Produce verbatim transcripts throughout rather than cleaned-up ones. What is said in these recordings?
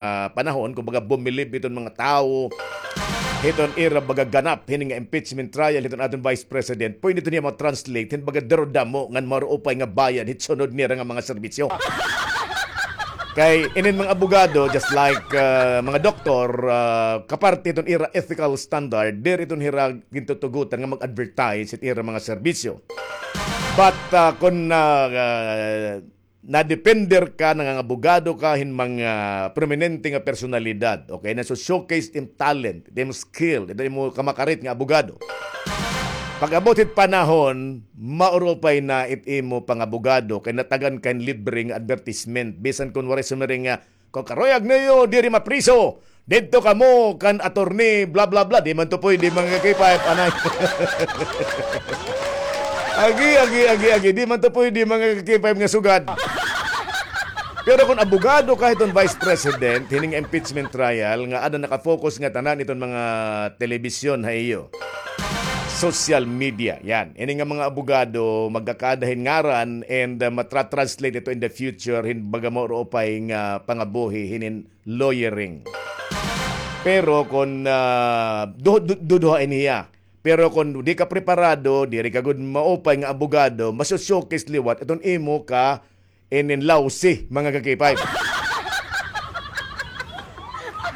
ah, panahon, kumbaga, bumilib iton mga tawo hiton ira baga ganap hini nga impeachment trial hiton aton Vice President, pwede iton niya ma-translate hin baga daro damo ngan maruupay nga bayad hit sunod nira nga mga serbisyo. Kay inin mga abogado, just like, ah, mga doktor, ah, kaparte iton ira ethical standard, diri iton hira gintutugutan nga mag-advertise hit ira mga serbisyo. But, ah, kon, ah, ah, nadepender ka, nangangabogado ka hin mga prominente nga personalidad, okay, naso-showcase it im talent, it im skill, it imo kamakarit nga abogado. Pag-abot hit panahon, maurupay na it imo pangabogado kay natagan ka hin libre nga advertisement. Bisan kon waray sumiring nga, "Kon karuyag niyo diri mapriso, didto kamo kan attorney blah blah blah." Di man to pwede, mga ka-K five, anay. Agi, agi, agi, agi. Di man to pwede, mga ka-K five, nga sugad. Pero kon abogado ka hiton Vice President, hining impeachment trial, nga ada naka-focus nga tanan iton mga telebisyon ha iyo, social media, yan. Ini nga mga abogado, magkakaada hin ngaran and, uh, matra-translate ito in the future hin baga maurupay nga pangabuhi hinin lawyering. Pero kon, ah, du-, du-, duduha ini hiya. Pero kon di ka preparado, diri ka gud maupay nga abogado, maso-showcase liwat iton imo ka inin lousy, mga ka-K five.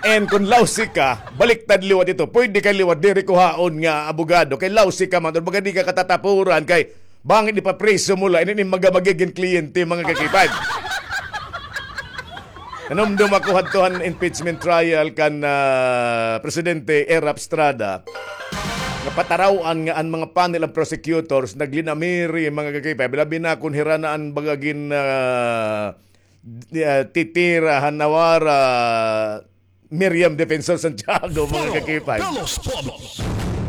And kon lousy ka, baliktad liwat ito. Pwede ka liwat diri kuhaon nga abogado kay lousy ka man, or baga di ka katatapuran kay bangin ipapriso mo la inin mga magigin kliyente, mga ka-K five. Nanumdom ako hadto han impeachment trial kan, ah, Presidente Erap Estrada nga pataraw-an nga an mga panel of prosecutors naglinamiri, mga ka-K five. Labi na kon hira na an baga gin, ah, di-, ah, titira han nawara, Miriam Defensor Santiago, mga ka-K five.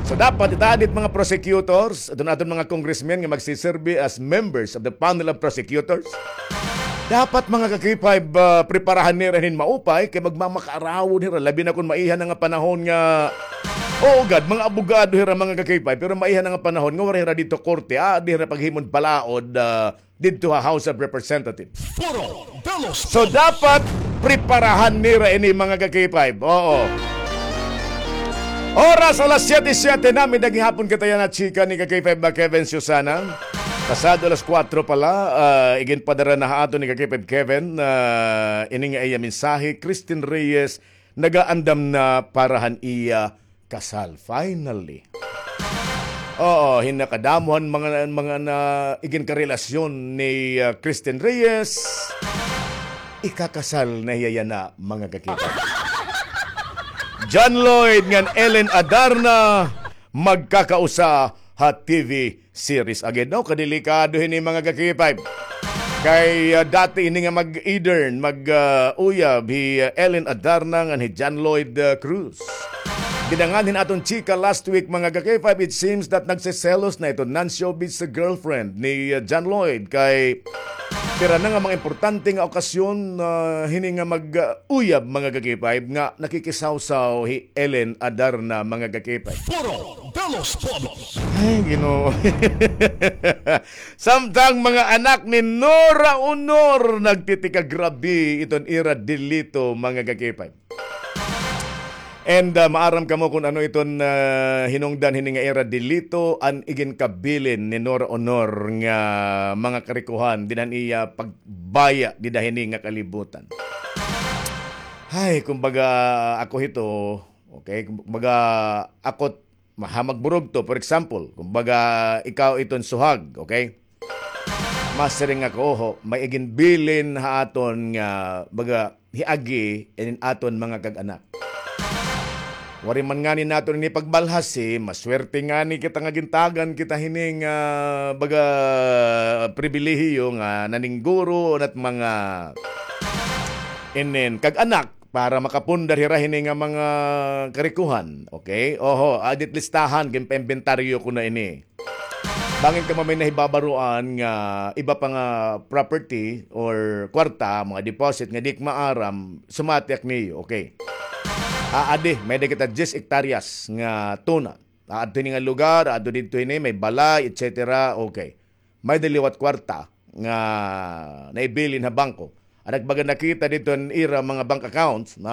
So dapat itaad it mga prosecutors, iton aton mga congressmen nga magsiserbi as members of the panel of prosecutors. Dapat, mga ka-K five, ah, preparahan nira hin maupay kay magmamakaarawon hira, labi na kon maiha na nga panahon nga, oo gad, mga abogado hira, mga ka-K five, pero maiha na nga panahon nga waray hira didto korte, ah, diri hira paghimon balaod, ah, didto ha House of Representatives. So dapat preparahan nira ini, mga ka-K five. Oo. Oras alas siyete siyete na, may gihapon kita yana chika ni ka-K five ba Kevin Susana. Pasado alas kuwatro pala, ah, iginpadara na ha aton ni ka-K five Kevin, ah, ini nga iya mensahe, Christine Reyes, nagaandam na para han iya kasal. Finally. Oo, hin nakadamo han mga, mga na iginkarelasyon ni, ah, Christine Reyes, ikakasal na hiya yana, mga ka-K five. John Lloyd ngan Ellen Adarna magkakausa ha T V series. Again, no? Kadelikado hini, mga ka-K five. Kay, ah, dati ini nga mag-edern, mag, ah, uyab, hi, ah, Ellen Adarna ngan hi John Lloyd, ah, Cruz. Dinangan hin aton chika last week, mga ka-K five, it seems that nagseselos na iton non-showbiz girlfriend ni, ah, John Lloyd kay pira na nga mga importante nga okasyon, ah, hini nga mag, ah, uyab, mga ka-K five, nga nakikisawsaw hi Ellen Adarna, mga ka-K five. Ay, Ginoo. Samtang mga anak ni Nora Honor nagtitikagrabi iton ira delito, mga ka-K five. And, ah, maaram kamo kon ano iton, ah, hinungdan hini nga ira delito, an iginkabilin ni Nora Honor nga mga karikohan dida han iya pagbaya dida hini nga kalibutan. Hay, kumbaga, ako hito, okay, kumbaga, ako, maha magburugto, for example, kumbaga, ikaw iton suhag, okay? Masiring ako, oho, may iginbilin ha aton nga, baga, hiagi inin aton mga kag-anak. Waray man ngani naton ini pagbalhasi, maswerte ngani kita nga gintagan kita hini nga, baga, pribilehiyo nga naningguro nat mga inin kag-anak para makapundar hira hini nga mga karikohan. Okay? Oho, adit listahan, ginpaimbentaryo ko na ini. Bangin kamo may nahibabaroan nga iba pa nga property or kwarta, mga deposit nga di ko maaram, sumati ak niyo, okay. Aadi, may-ada kita diyes hektaryas nga tuna. Aadto hini nga lugar, aadto didto hini, may balay, et cetera. Okay. May-ada liwat kwarta nga naibilin ha bangko. An ak baga nakita didto an ira mga bank accounts, no?